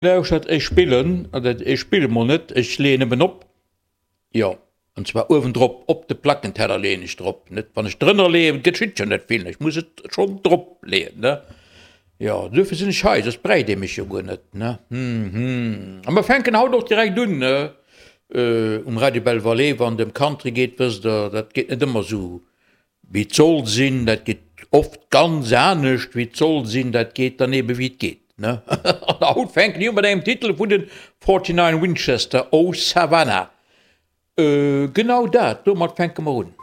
Lauschtert, ech spillen, oder ech spille mol net, ech leeën nëmmen op, jo, an zwar uewendrop, op de Plackenteller leeën ech drop, net wann ech drënner leeën, geschitt jo net vill, ech muss et schonn drop leeën, ne? Jo, duerfir sinn ech hei, soss bräicht ee mech jo guer net, ne? Hm, hm. A mer fänken haut och direkt un, ne, um Radio Belle Vallée, wann et ëm Country geet, wësst Der, dat geet net ëmmer esou Wéi et soll sinn, dat geet oft ganz anescht wéi et soll sinn, dat geet dann ebe wéi et geet, ne? An haut fänken ech u mat engem Titel vun den 49 Winchester, Oh Savannah. Genau dat, domat fänke mer un.